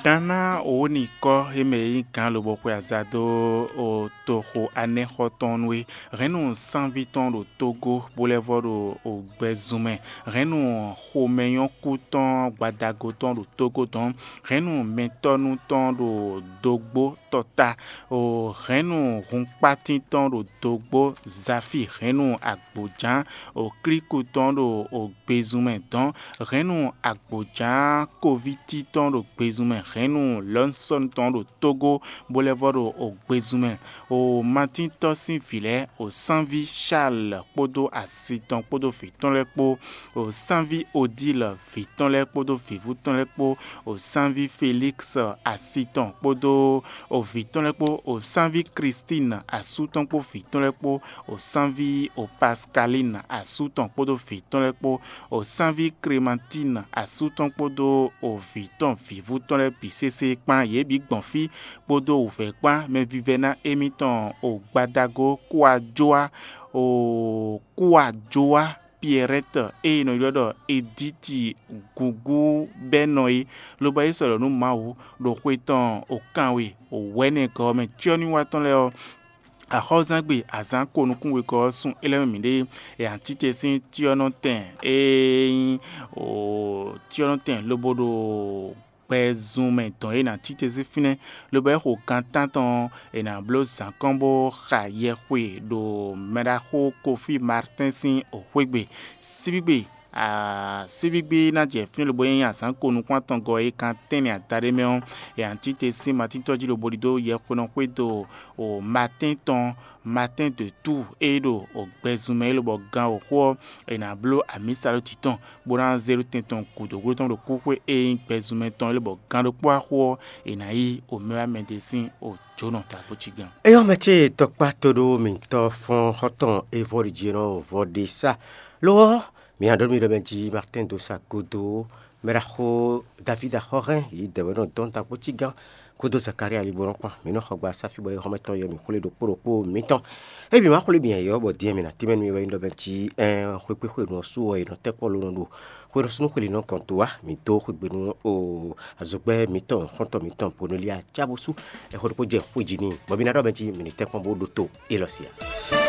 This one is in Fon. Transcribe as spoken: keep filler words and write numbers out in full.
Gǎn ná wǒ nyi kɔ́ e mɛ e nyí gǎn lobo xwe aza dó toxo anɛ́xɔ tɔn nu é. Hɛ̌nnu sánví tɔn ɖo Tógó, bó lɛ́ vɔ́ ɖo gbɛzun mɛ. Hɛ̌nnu xomɛnyɔ́kú tɔn gbadago tɔn ɖo Tógó dɔn. Hɛ̌nnu mɛtɔ́nu tɔn ɖo dógbó tɔta. Hɛ̌nnu hunkpátín tɔn ɖo dógbó. Zafi hɛ̌nnu agbǒján klíku tɔn ɖo gbezun mɛ dɔn. Hɛ̌nnu agbǒján kovíti tɔn ɖo gbezun mɛ. Hɛ̌nnu lɔ̌nsɔ́nu tɔn ɖo Tógó, bó lɛ́ vɔ́ ɖo gbezun mɛ. O matíntɔ́ sín vǐ lɛ́ɛ, o sánví Charles kpódó asi tɔn kpódó vǐ tɔn lɛ́ɛ kpó, o sánví Odile vǐ tɔn lɛ́ɛ kpódó vǐvú tɔn lɛ́ɛ kpó, o sánví Félix asi tɔn kpódó o vǐ tɔn lɛ́ɛ kpó, o sánví Christine asú tɔn kpó vǐ tɔn lɛ́ɛ kpó, o sánví o Pascaline asú tɔn kpódó vǐ tɔn lɛ́ɛ kpó, o sánví Clémentine asú tɔn kpódó o vǐ tɔn vǐvú tɔn lɛ́ɛ bǐ sésé kpán. Yě bǐ gbɔn fí kpódó wǔvɛ́ kpán. Mɛvívɛ́ná émítɔn o gbadago Kúajóa, o Kúajóa Pierrette e è nɔ ylɔ́ ɖɔ Edíti gúgú bɛ́ nɔ é, lobo é sɔ́ ɖɔ nú Mawu ɖo xwe tɔn o kanwe o wɛ̌nɛgɔ́ ɔ́ mɛ. Cyɔ́nywatɔ́ lɛ́ɛ ɔ́, axɔ́zangbe azǎn ko nukún wegɔ́ ɔ́ sun é lɛ́ɛ mɛ mǐɖée. È nǎ tite sín cyɔ́nɔtɛn e nyí cyɔ́nɔtɛn lobo ɖo gbɛzun mɛ dɔn e è nǎ tite sín fínɛ́, lobo é xo gan tántɔn è nǎ bló zǎn kɔn bó xa yɛxwe ɖo mɛɖaxó Kofi Martɛ́n sín xwégbe. Síbígbe síbígbe ná jɛ fínɛ́ lobo nyí azǎn ko nukún atɔngɔ́ e kan tɛ́nnɛ adaɖé mɛ ɔ́, è nǎ tite sín matíntɔ́ jí lobo ɖidó yɛxwenɔ xwédo o Martɛ́n tɔn, Martɛ́n de Tú e ɖo gbɛzun mɛ é lobɔ gan wǒxo ɔ́, è nǎ bló amǐsa ɖó jǐ tɔn, bó ná zé ɖó tɛn tɔn gǔdo gló tɔn ɖo kúxwé e nyí gbɛzunmɛ tɔn é lobɔ gan ɖokpó axo ɔ́, è nǎ yí omɛwámɛdé sín òjǒnɔ ta kpó cí gán. Éyɔ́ mɛ ce tɔkpá tóɖó mǐtɔn fɔ́n xɔ́ntɔn Evɔ́ɖi jí nɔ vɔ ɖe sá. Lo ɔ́, mǐ nǎ ɖɔ nú mi ɖɔ mɛ jí Martin dó sa gúdo mɛ ɖaxó David axɔ́hɛn yǐ dɛ̌wɛ́ nɔ dɔn ta kpó cí gán kódó Zakaria Libolɔ́n kpán. Mǐ nɔ xɔ gba sáfí bɔ é xɔ́mɛ tɔn yɔ mǐ xwlé ɖokpó ɖokpó mǐtɔn. Ébí má xwlé bǐ yɔ bɔ dín mǐ ná tɛ́nmɛ nú mi wɛ nyí ɖɔ mɛ jí ɛn xwekpéxwenu ɔ́ su ɔ́ è nɔ tɛ́ kpɔ́ ló nɔ ɖo xwenu súnnu xweli nɔ gɔn dó wá mǐ dó xwegbe nú o azɔ̌gbɛ́ mǐtɔn xɔ́ntɔn mǐtɔn Boneliya Cábosú. Ɛxɔ ɖokpó jɛ xwé jí n'i bɔ mǐ ná ɖɔ mɛ jí mǐ ní tɛ́ kpɔ́n bó ɖótó élɔ́ sí ǎ.